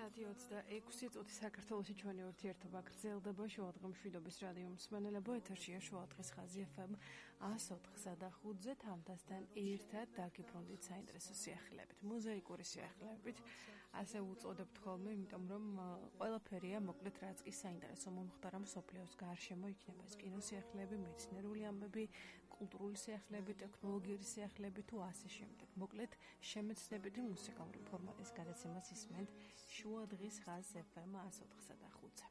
9:26 წუთი საქართველოში ჩვენი ურთიერთობა გრძელდება. შუადღემშვიდობის რადიო მსმენელებო, ეთერშია შუადღის ხაზი FM 104.5-ზე თამთასთან ერთად დაგიბრუნდით საინტერესო სიახლეებით, მოზაიკური სიახლეებით, ასე უწოდებთ ხოლმე, იმიტომ რომ ყველაფერია, მოკლედ რაც კი საინტერესო მომხდარა მსოფლიოს გარშემო, იქნება ეს კინოსიახლეები, მეცნიერული ამბები, კულტურული სიახლეები, ტექნოლოგიური სიახლეები თუ ასე შემდეგ. მოკლედ შემეცნებითი მუსიკალური ფორმატის გადაცემას ისმენთ შუადღის ხაზ FM 104.5-ზე.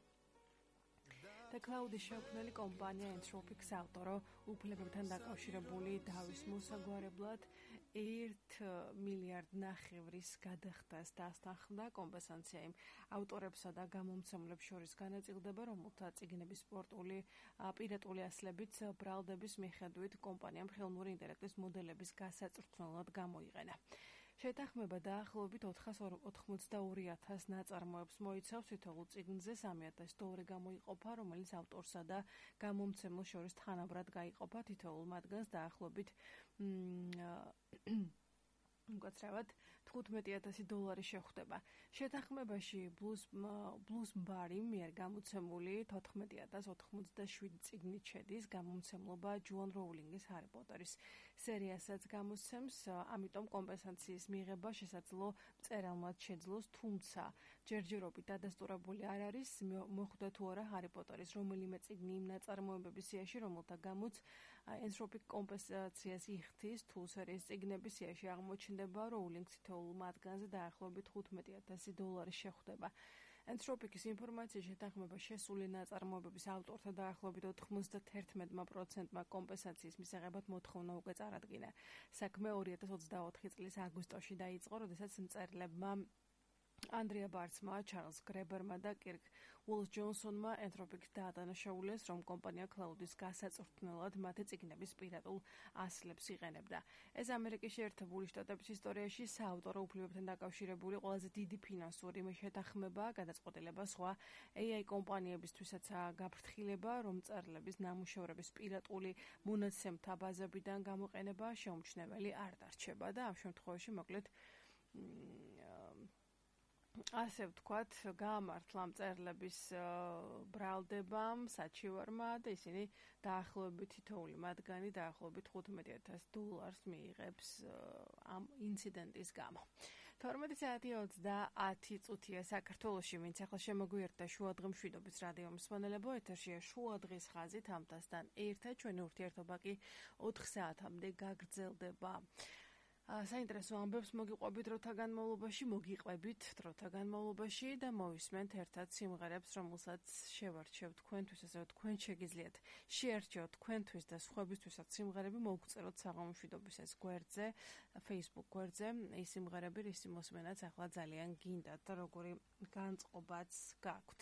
და კლაუდის შექმნელი კომპანია Entropic ავტორო უფლებებთან დაკავშირებული დავის მოსაგვარებლად 1.5 მილიარდ გადახდას დასთანხმდა. კომპენსაცია იმ ავტორებსა და გამომცემლებს შორის განაწილდება, რომელთა წიგნების პირატული ასლებით ბრალდების მიხედვით კომპანიამ ხელოვნური ინტელექტის მოდელების გასაწვრთნელად გამოიყენა. შეთანხმება დაახლოებით 482,000 ნაწარმოებს მოიცავს, თითოეულ წიგნზე $3,000 გამოიყოფა, რომელიც ავტორსა და გამომცემლს შორის თანაბრად გაიყოფა, თითოეულ მათგანს დაახლოებით უკაცრავად $15,000 შეხვდება. შეთანხმებაში Bloomsbury მიერ გამოცემული 14,087 წიგნით შედის. გამომცემლობა ჯოან როულინგის ჰარი პოტერის სერიასაც გამოსცემს, ამიტომ კომპენსაციის მიღება შესაძლო მწერალმა შეძლოს, თუმცა ჯერჯერობით დადასტურებული არ არის, მოხვდა თუ არა ჰარი პოტერის რომელიმე წიგნი იმ ნაწარმოებების სიაში, რომელთა გამოც Entropic კომპენსაციას იხდის, თუ სერიის წიგნების სიაში აღმოჩნდება როულინგს თითოეულ მათგანზე დაახლოებით $15,000 შეხვდება. Entropic-ის ინფორმაციის შეთანხმება შესული ნაწარმოებების ავტორთა დაახლოებით 91%-მა კომპენსაციის მისაღებად მოთხოვნა უკვე წარადგინა. საქმე 2024 წლის აგვისტოში დაიწყო, როდესაც მწერლებმა Andrea Bartsma, Charles Graeberმა და Kirk Woolf-Johnsonმა Entropic-ს დაადანაშაულეს, რომ კომპანია კლაუდის გასაწვრთნელად მათი წიგნების პირატულ ასლებს იყენებდა. ეს ამერიკის შეერთებული შტატების ისტორიაში საავტორო უფლებებთან დაკავშირებული ყველაზე დიდი ფინანსური შეთანხმებაა, გადაწყვეტილება სხვა AI კომპანიებისთვისაც გაფრთხილება, რომ მწერლების ნამუშევრების პირატული მონაცემთა ბაზებიდან გამოყენება შეუმჩნეველი არ დარჩება და ამ შემთხვევაში მოკლედ ასე ვთქვათ, გაამართლა მწერლების ბრალდებამ, საჩივარმა და ისინი დაახლოებით თითოეული მათგანი დაახლოებით $15,000 მიიღებს ამ ინციდენტის გამო. 12:30 საქართველოში, ვინც ახლა შემოგვიერთდა შუადღემშვიდობის რადიო მსმენელებო, ეთერშია შუადღის ხაზი თამთასთან ერთად, ჩვენი ურთიერთობა კი 4 საათამდე გაგრძელდება. საინტერესო ამბებს მოგიყვებით დროთა განმავლობაში და მოვისმენთ ერთად სიმღერებს, რომელსაც შევარჩევ თქვენთვის, ასე რომ თქვენ შეგიძლიათ შეარჩიოთ თქვენთვის და სხვებისთვისაც სიმღერები, მოგწეროთ საღამომშვიდობის ეს გვერდზე, Facebook გვერდზე, ის სიმღერები, რის მოსმენაც ახლა ძალიან გინდათ და როგორი განწყობაც გაქვთ.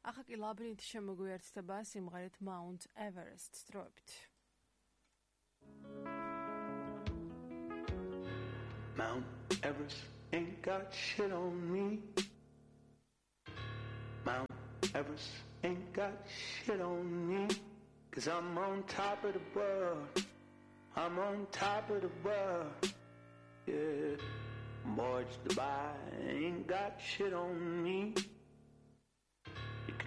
ახლა კი ლაბირინთი შემოგვიერთდება სიმღერით Mount Everest სტროებით. Mount Everest ain't got shit on me. Mount Everest ain't got shit on me. 'Cause I'm on top of the world. I'm on top of the world. Yeah, Morge Dubai ain't got shit on me.